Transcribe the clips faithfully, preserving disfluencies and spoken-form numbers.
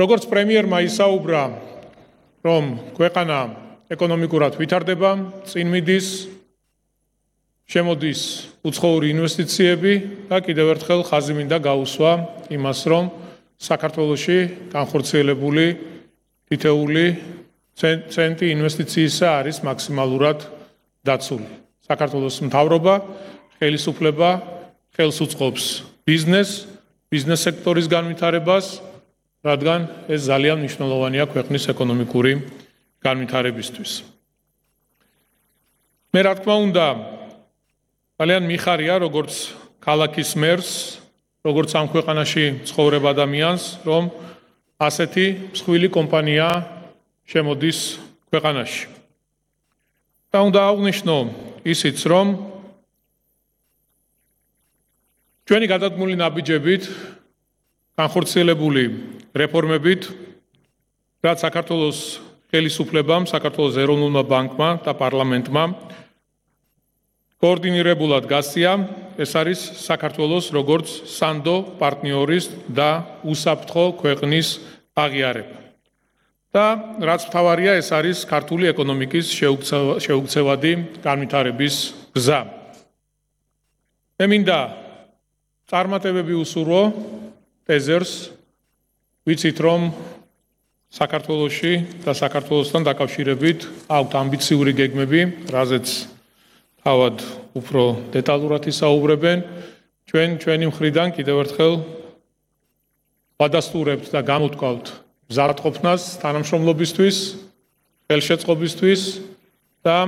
როგორც პრემიერმა ისაუბრა, რომ ქვეყანა ეკონომიკურად ვითარდება, წინ მიდის, შემოდის უცხოური ინვესტიციები და კიდევ ერთხელ ხაზი მინდა გაუსვა იმას, რომ საქართველოში განხორციელებული თითეული ცენტი ინვესტიციისა არის მაქსიმალურად დაცული. საქართველოს მთავრობა ხელისუფლება ხელს უწყობს ბიზნეს, ბიზნეს სექტორის განვითარებას, რადგან ეს ძალიან მნიშვნელოვანია ქვეყნის ეკონომიკური განვითარებისთვის. მე რა თქმა უნდა, ძალიან მიხარია როგორც ქალაქის მერს, როგორც ამ ქვეყანაში ცხოვრებ ადამიანს, რომ ასეთი მსხვილი კომპანია შემოდის ქვეყანაში. და უნდა აღვნიშნო ისიც, რომ ჩვენი გადადგმული ნაბიჯებით, განხორციელებული რეფორმებით, რაც საქართველოს ხელისუფლებამ, საქართველოს ეროვნულმა ბანკმა და პარლამენტმა კოორდინირებულად გასწია, ეს არის საქართველოს როგორც სანდო პარტნიორის და უსაფრთხო ქვეყნის აღიარება. და რაც მთავარია, ეს არის ქართული ეკონომიკის შეუქცევადი განვითარების გზა. მე მინდა წარმატებები უსურვო ტეზერს, ვიცით რომ საქართველოში და საქართველოსთან დაკავშირებით აქვთ ამბიციური გეგმები, რაზეც თავად უფრო დეტალურად ისაუბრებენ. ჩვენ ჩვენი მხრიდან კიდევ ერთხელ ვადასტურებთ და გამოვთქვავთ მზადყოფნას თანამშრომლობისთვის, ხელშეწყობისთვის და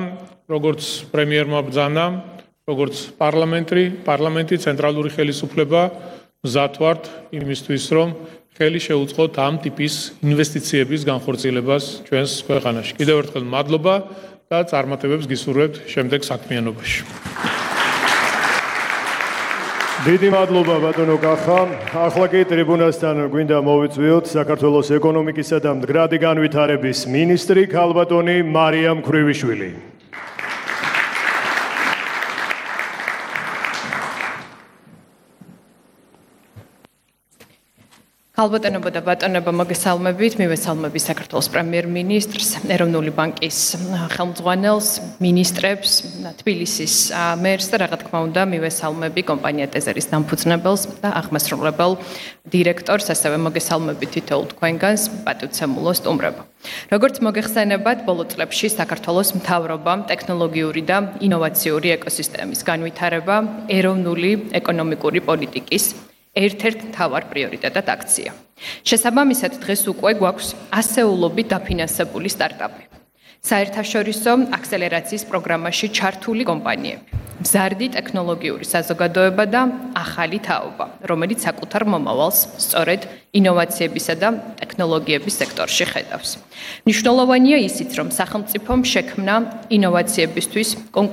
როგორც პრემიერმა ბრძანა, როგორც პარლამენტი, პარლამენტი ცენტრალური ხელისუფლება მზად ვართ იმისთვის, რომ ხელი შეუწყოთ ამ ტიპის ინვესტიციების განხორციელებას ჩვენს ქვეყანაში. კიდევ ერთხელ მადლობა და წარმატებებს გისურვებთ შემდეგ საქმიანობაში. დიდი მადლობა ბატონო კახა. ახლა კი ტრიბუნასთან გვინდა მოვიწვიოთ საქართველოს ეკონომიკისა და მდგრადი განვითარების მინისტრი ქალბატონი მარიამ ქრივიშვილი. ქალბატონებო და ბატონებო, მოგესალმებით. მივესალმები საქართველოს პრემიერ-მინისტრს, ეროვნული ბანკის ხელმძღვანელს, მინისტრებს, თბილისის მერს და რა თქმა უნდა, მივესალმები კომპანია ტეზერის დამფუძნებელს და აღმასრულებელ დირექტორს, ასევე მოგესალმები თითოეულ თქვენგანს, პატივცემულო სტუმრებო. როგორც მოგეხსენებათ, ბოლო წლებში საქართველოს მთავრობამ ტექნოლოგიური და ინოვაციური ეკოსისტემის განვითარება ეროვნული ეკონომიკური პოლიტიკის ერთ-ერთ მთავარ პრიორიტეტად აქცია. შესაბამისად, დღეს უკვე გვაქვს ასეულობით დაფინანსებული სტარტაპი. საერთაშორისო აქსელერაციის პროგრამაში ჩართული კომპანიები, მზარდი ტექნოლოგიური საზოგადოება და ახალი თაობა, რომელიც საკუთარ მომავალს სწორედ ინოვაციებისა და ტექნოლოგიების სექტორში ხედავს. მნიშვნელოვანია ისიც, რომ სახელმწიფომ შექმნა ინოვაციებისთვის კონკურენციული